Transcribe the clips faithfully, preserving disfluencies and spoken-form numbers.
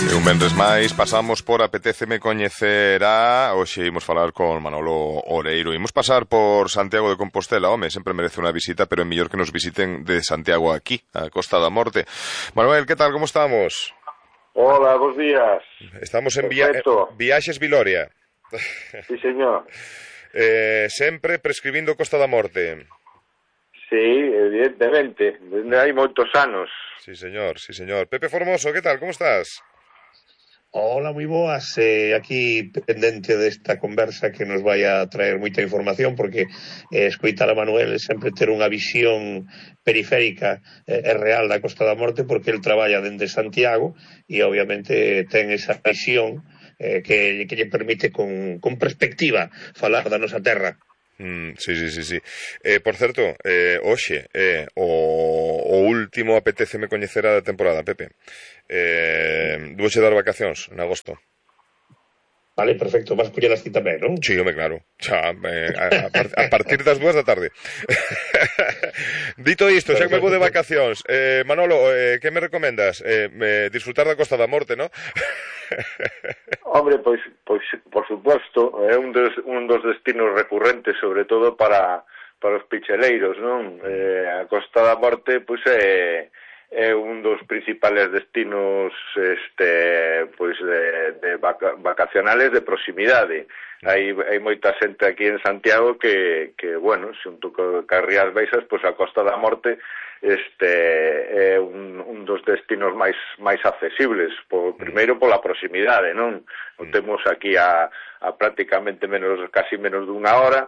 E un venres máis pasamos por Apetéceme coñecer a... Hoxe imos falar con Manolo Oreiro. Imos pasar por Santiago de Compostela. Home, sempre merece unha visita, pero é mellor que nos visiten de Santiago aquí, a Costa da Morte. Manuel, que tal, como estamos? Hola, bons días. Estamos en via... Viaxes Viloria. Sí, señor. Eh, sempre prescribindo Costa da Morte. Sí, evidentemente, hai moitos anos. Sí, señor, sí, señor. Pepe Formoso, que tal, como estás? Hola, moi boas, eh, aquí pendente desta conversa que nos vai a traer moita información, porque eh, escoitar a Manuel é sempre ter unha visión periférica e eh, real da Costa da Morte, porque el traballa dende Santiago e obviamente ten esa visión eh, que, que lle permite con, con perspectiva falar da nosa terra. Mm, sí, sí, sí, sí. Eh, por certo, eh, hoxe eh, o, o último Apetéceme coñecer a da temporada, Pepe. Eh, Dueche dar vacacións en agosto. Vale, perfecto, vas coller así tamén, non? Sí, home, claro. Xa, eh, a, a, a partir das dúas da tarde. Dito isto, xa que me vou de vacacións, eh, Manolo, eh, que me recomendas? Eh, me, disfrutar da Costa da Morte, ¿no? Hombre, pois, pois, por suposto, é un dos, un dos destinos recurrentes, sobre todo para, para os picheleiros, non? Eh, a Costa da Morte, pois, é... é un dos principales destinos este pois de, de vaca, vacacionales de proximidade. Hai, hai moita xente aquí en Santiago que, que bueno, xunto co Carrías Baixas, pois a Costa da Morte este é un, un dos destinos máis máis accesibles, por, primeiro pola proximidade, non? O temos aquí a, a prácticamente menos, casi menos dunha hora.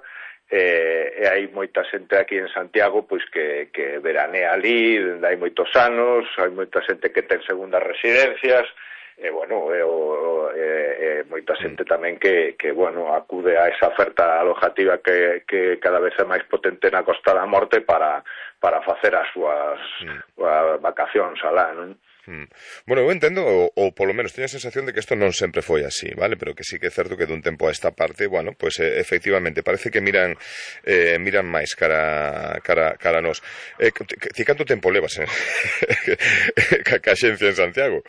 E, e hai moita xente aquí en Santiago pois que, que veranea ali hai moitos anos, hai moita xente que ten segundas residencias e bueno, e, o, e, e moita xente tamén que, que bueno, acude a esa oferta alojativa que, que cada vez é máis potente na Costa da Morte para, para facer as súas mm. vacacións alá, non? Bueno, eu entendo, ou, ou polo menos teño a sensación de que isto non sempre foi así, vale? Pero que sí que é certo que dun tempo a esta parte, bueno, pues eh, efectivamente, parece que miran eh, miran máis cara cara cara a nós. Eh, ti canto tempo levas eh? ca, ca xencia en Santiago?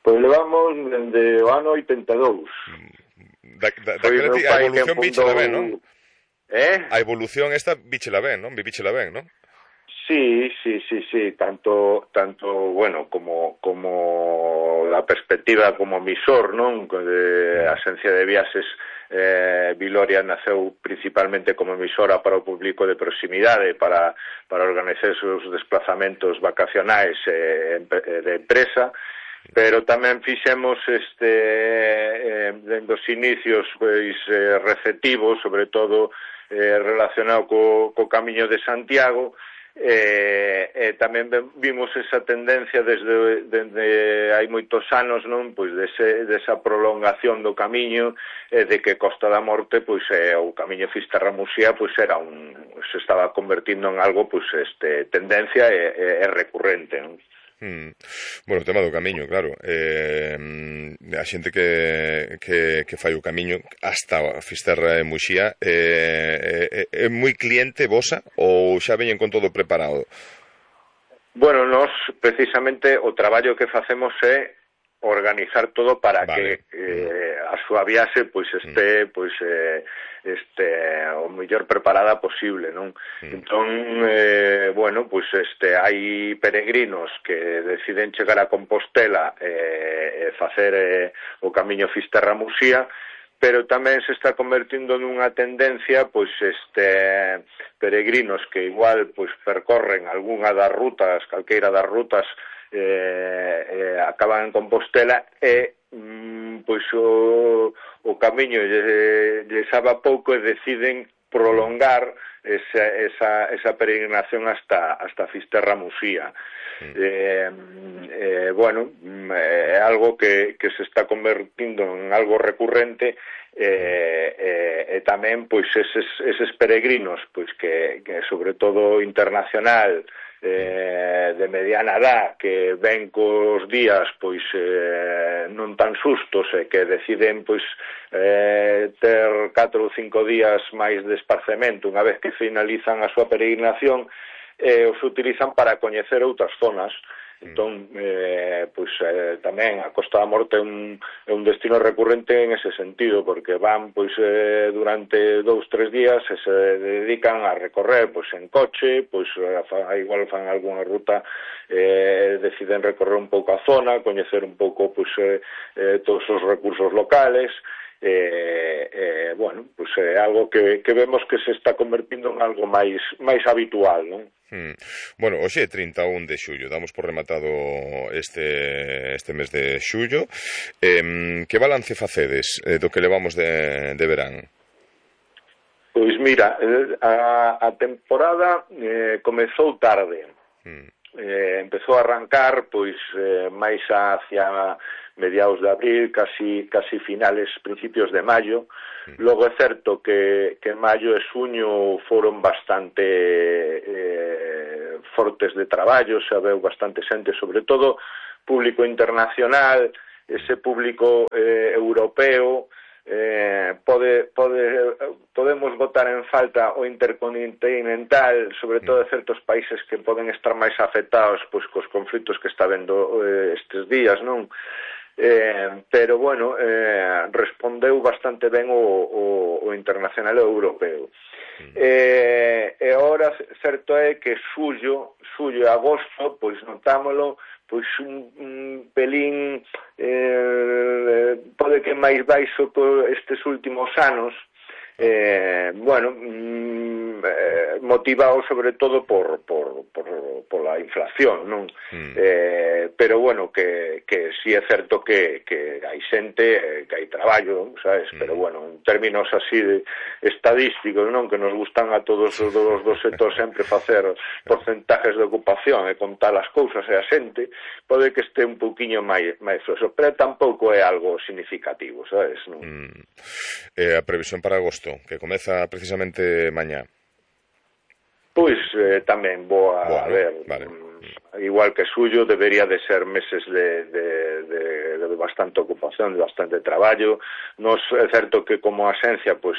Pois levamos dende o ano oitenta e dous. Da, da, da ti, a evolución bichela ben, non? Eh? A evolución esta bichela ben, non? Vivíchela ben, non? Sí, sí, sí, sí, tanto, tanto, bueno, como, como la perspectiva como emisor, non? De, a Axencia de Viaxes eh, Viloria naceu principalmente como emisora para o público de proximidade, para, para organizar os desplazamentos vacacionais eh, de empresa, pero tamén fixemos este eh, dende os inicios pois eh, receptivos, sobre todo eh, relacionado co, co Camiño de Santiago. E, e tamén vimos esa tendencia desde, desde hai moitos anos, non? Pois dese, desa prolongación do camiño e de que Costa da Morte, pois é, o camiño Fisterra-Muxía, pois era un, se estaba convertindo en algo, pois este, tendencia e, e, e recurrente, non? Hmm. Bueno, o tema do camiño, claro, eh, a xente que, que, que fai o camiño hasta Fisterra e Muxía eh, é, é moi cliente vosa ou xa veñen con todo preparado? Bueno, nós precisamente o traballo que facemos é organizar todo para vale. que eh, a súa viaxe pois este, pois eh, este o mellor preparada posible, non? Mm. Entón, eh, bueno, pois este hai peregrinos que deciden chegar a Compostela e eh, facer eh, o camiño Fisterra-Muxía, pero tamén se está convertindo nunha tendencia, pois este peregrinos que igual pois percorren algunha das rutas, calqueira das rutas eh, eh, acaban en Compostela e mm, pois o, o camiño lle, lle sabe pouco e deciden prolongar esa, esa, esa peregrinación hasta, hasta Fisterra-Muxía. Mm. Eh, eh, bueno, é algo que, que se está convertindo en algo recurrente e eh, eh, tamén pois eses, eses peregrinos pois que, que sobre todo internacional eh, de mediana edad que ven cos días pois eh, non tan sustos e que deciden pois eh, ter catro ou cinco días máis de esparcemento unha vez que finalizan a súa peregrinación, eh, os utilizan para coñecer outras zonas Entón, eh, pois eh, tamén a Costa da Morte é un, é un destino recurrente en ese sentido, porque van pois eh, durante dous, tres días e se dedican a recorrer pois en coche, pois a, igual fan algunha ruta, eh, deciden recorrer un pouco a zona, coñecer un pouco pois eh, eh, todos os recursos locales. Eh, eh, bueno, pues é eh, algo que, que vemos que se está convertindo en algo máis máis habitual, non? Hmm. Bueno, hoxe é trinta e un de xullo, damos por rematado este este mes de xullo. Eh, que balance facedes eh, do que levamos de, de verán? Pois mira, a, a temporada eh, comezou tarde. Hmm. Eh, empezou a arrancar pois eh, máis hacia mediados de abril, casi casi finales, principios de maio. Logo é certo que, que maio e xuño foron bastante eh, fortes de traballo, xa veu bastante xente, sobre todo público internacional, ese público eh, europeo. Eh, pode, pode, podemos botar en falta o intercontinental, sobre todo de certos países que poden estar máis afectados pois cos conflitos que está vendo eh, estes días, non? Eh, pero bueno, eh, respondeu bastante ben o, o, o internacional e o europeo. Eh, e ora certo é que xullo, xullo e agosto, pois notámolo pois un, un pelín eh, pode que máis baixo por estes últimos anos, eh, bueno, mm, eh, motivado sobre todo por, por, por, por la inflación, non? Mm. Eh, pero bueno, que, que sí é certo que, que hai xente, que hai traballo, sabes? Mm. Pero bueno, en términos así de estadísticos, non? Que nos gustan a todos os dos sectores sempre facer porcentajes de ocupación e contar as cousas e a xente, pode que este un pouquiño máis, máis floso, pero tampouco é algo significativo, sabes? Non? Mm. Eh, a previsión para agosto, que comeza precisamente mañá. Pois eh, tamén vou a, bueno, a ver, vale. Igual que xullo, debería de ser meses de, de, de, de bastante ocupación, de bastante traballo. Nos é certo que como axencia, pois